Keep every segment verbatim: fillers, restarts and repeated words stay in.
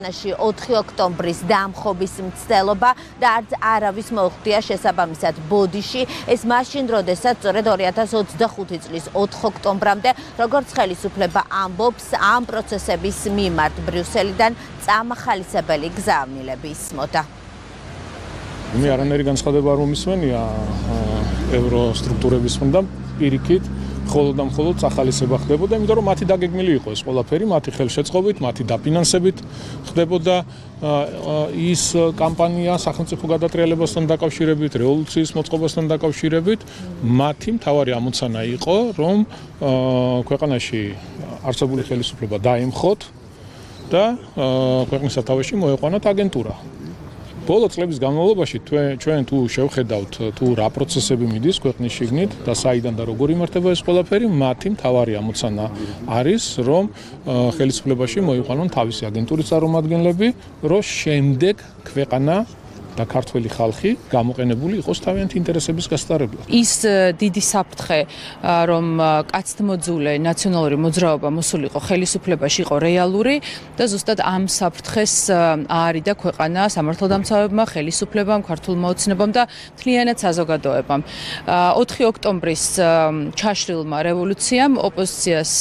ოთხი ოქტომბრის დამხობის მცდელობა და არც არავის მოუხდია შესაბამისად ბოდიში. ეს მაშინ, როდესაც სწორედ ორი ათას ოცდახუთი წლის ოთხ ოქტომბრამდე, როგორც ხელისუფლება ამბობს, ამ პროცესების მიმართ ბრიუსელიდან წამახალისებელი გზავნილები ისმოდა. მე არანაირი განცხადება არ მომისმენია ევროსტრუქტურების მხრიდან პირიქით. მხოლოდ და მხოლოდ სახალისება ხდებოდა, იმიტომ რომ მათი დაგეგმილი იყო ეს ყველაფერი, მათი ხელშეწყობით, მათი დაფინანსებით ხდებოდა ის კამპანია სახელმწიფო გადატრიალებასთან დაკავშირებით, რევოლუციის მოწყობასთან დაკავშირებით. მათი მთავარი ამოცანა იყო, რომ ქვეყანაში არსებული ხელისუფლება დაემხოთ და ქვეყნის სათავეში მოეყვანათ აგენტურა. ბოლო წლების განმავლობაში ჩვენ თუ შევხედავთ თუ რა პროცესები მიდის ქვეყნის შიგნით და საიდან და როგორ იმართება ეს ყველაფერი, მათი მთავარი ამოცანა არის, რომ ხელისუფლებაში მოიყვანონ თავისი აგენტურის წარმომადგენლები, რომ შემდეგ ქვეყანა და ქართველი ხალხი გამოყენებული იყოს თავიანთი ინტერესების გასატარებლად. ის დიდი საფრთხე, რომ კაცთმოძულე ნაციონალური მოძრაობა მოსულიყო ხელისუფლებაში, იყო რეალური და ზუსტად ამ საფრთხეს აარიდა ქვეყანა სამართალდამცავებმა, ხელისუფლებამ, ქართულმა ოცნებამ და მთლიანად საზოგადოებამ. ოთხი ოქტომბრის ჩაშლილმა რევოლუციამ ოპოზიციას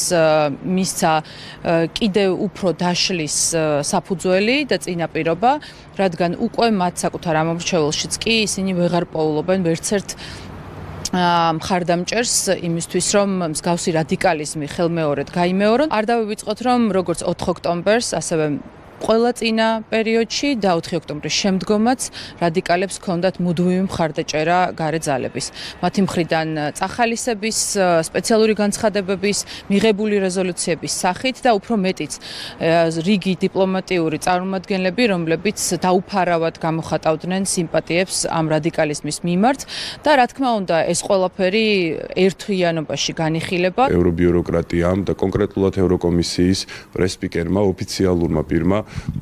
მისცა კიდევ უფრო დაშლის საფუძველი და წინაპირობა, რადგან უკვე მათ საკუთარ ამომრჩეველშიც კი ისინი ვეღარ პოულობენ ვერცერთ მხარდამჭერს იმისთვის, რომ მსგავსი რადიკალიზმი ხელმეორედ გაიმეორონ. არ დავივიწყოთ, რომ როგორც ოთხ ოქტომბერს, ასევე ყველა წინა პერიოდში და ოთხი ოქტომბრის შემდგომაც რადიკალებს ჰქონდათ მუდმივი მხარდაჭერა გარე ძალების. მათი მხრიდან წახალისების, სპეციალური განცხადებების, მიღებული რეზოლუციების სახით და უფრო მეტიც რიგი დიპლომატიური წარმომადგენლები, რომლებიც დაუფარავად გამოხატავდნენ სიმპათიებს ამ რადიკალიზმის მიმართ და რა თქმა უნდა, ეს ყველაფერი ერთვიანობაში განიხილება. ევრობიუროკრატიამ და კონკრეტულად ევროკომისიის პრესპიკერმა ოფიციალურმა პირმა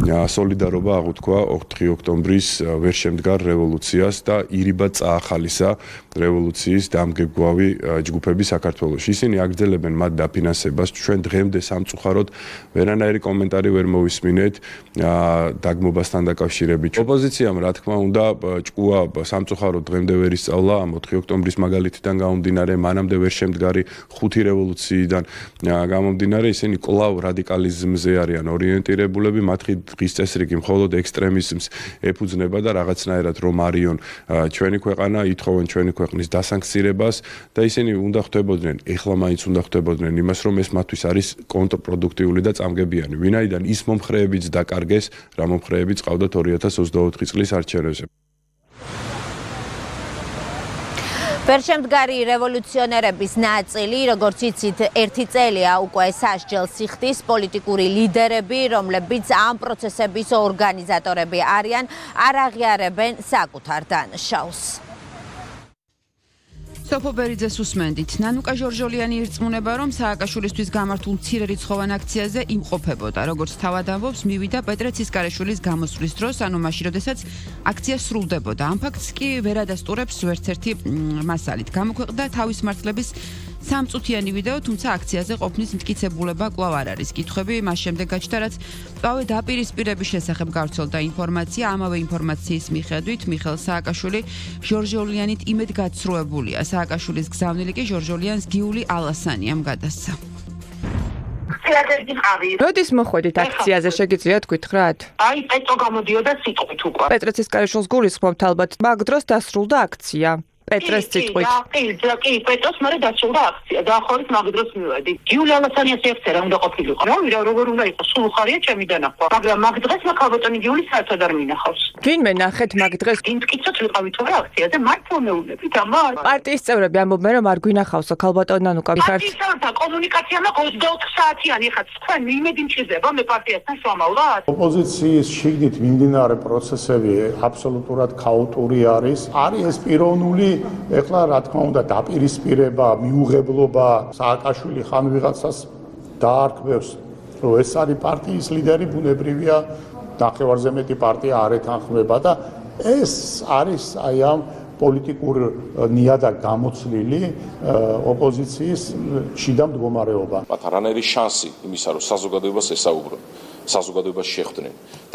სოლიდარობა აღუთქვა ოთხი ოქტომბრის ვერ შემდგარ რევოლუციას და ირიბად წაახალისა რევოლუციის დამგებგვავი ჯგუფები საქართველოში. ისინი აგრძელებენ მათ დაფინანსებას. ჩვენ დღემდე სამწუხაროდ ვერანაირი კომენტარი ვერ მოვისმინეთ დაგმობასთან დაკავშირებით. ოპოზიციამ რა თქმა უნდა ჭკუა სამწუხაროდ დღემდე ვერ ისწავლა ამ ოთხი ოქტომბრის მაგალითიდან გამომდინარე, მანამდე ვერ შემდგარი ხუთი რევოლუციიდან გამომდინარე, ისინი კვლავ რადიკალიზმზე არიან ორიენტირებულები. მათი დღის წესრიგი მხოლოდ ექსტრემიზმს ეფუძნება და რაღაცნაირად რომ არიონ ჩვენი ქვეყანა, ითხოვენ ჩვენი ქვეყნის დასანქცირებას და ისინი უნდა ხვდებოდნენ, ეხლა მაინც უნდა ხვდებოდნენ იმას, რომ ეს მათთვის არის კონტრპროდუქტიული და წამგებიანი. ვინაიდან ის მომხრეებიც დაკარგეს, რა მომხრეებიც ყავდათ ორი ათას ოცდაოთხი წლის არჩევნებზე. ვერშემდგარი რევოლუციონერების ნაწილი, როგორც იცით, ერთი წელია უკვე სასჯელს იხდის პოლიტიკური ლიდერები, რომლებიც ამ პროცესების ორგანიზატორები არიან, არ აღიარებენ საკუთარ დანაშაულს. სოფო ბერიძეს უსმენდით. ნანუკა ჟორჟოლიანი ირწმუნება, რომ სააკაშვილისთვის გამართულ მცირერიცხოვან აქციაზე იმყოფებოდა. როგორც თავად ამბობს, მივიდა პეტრე ცისკარაშვილის გამოსვლის დროს, ანუ მაშინ, როდესაც აქცია სრულდებოდა. ამ ფაქტს კი ვერ ადასტურებს ვერცერთი მასალით. გამოქვეყნდა თავის მართლების სამწუთიანი ვიდეო, თუმცა აქციაზე ყოფნის მტკიცებულება კვლავ არ არის. კითხვები მას შემდეგ გაჩნდა, რაც პავე დაპირისპირების შესახებ გავრცელდა ინფორმაცია. ამავე ინფორმაციის მიხედვით მიხეილ სააკაშვილი ჟორჟოლიანით იმედ გაცრუებულია. სააკაშვილის გზავნილი კი ჟორჟოლიანს გიული ალასანიამ გადასცა. როდის მოხვედით აქციაზე, შეგიძლიათ გითხრათ? აი, პეტრე გამოდიოდა სიტყვით უკვე. პეტრე ცისკარაშვილს გულისხმობთ ალბათ, მაგ დროს დასრულდა აქცია. პეტრეს სიტყვით. კი, კი, კი, პეტრეს მერე დასრულდა აქცია. დაახლოებით მაგ დროს მივედი. გიული ალასანიას ეხწერა უნდა ყოფილიყო. რა ვიცი, როგორ უნდა იყოს, სულ ხარია ჩემი დანახვა. მაგრამ მაგ დღეს მაქალბატონი გიული საერთოდ არ მინახავს. ვინმე ნახეთ მაგ დღეს? ინტკიცოთ ვიყავით რა აქციაზე, მათ ფორმეულებით, ამარ. პარტიის წევრები ამბობენ, რომ არ გვინახავსო ქალბატონ ნანუკა ხართ. პარტიის წევრთა კომუნიკაცია მაქვს ოცდაოთხ საათიანი, ხა თქვენ იმედი მჭირდება მე პარტიასთან შევამავლად? ოპოზიციის შიგნით მიმდინარე პროცესები აბსოლუტურად ქაოტური არის. არის ეს პიროვნული ეხლა რა თქმა უნდა დაპირისპირება, მიუღებლობა, სააკაშვილი ხან ვიღაცას დაარქმევს, რომ ეს არის პარტიის ლიდერი, ბუნებრივია, ნახევარზე მეტი პარტია არ ეთანხმება და ეს არის აი ამ პოლიტიკურ ნიადაგ გამოცლილი ოპოზიციის შიდა მდგომარეობა. მათ არანაირი შანსი იმისა, რომ საზოგადოებას ესაუბრონ, საზოგადოებას შეხვდნენ.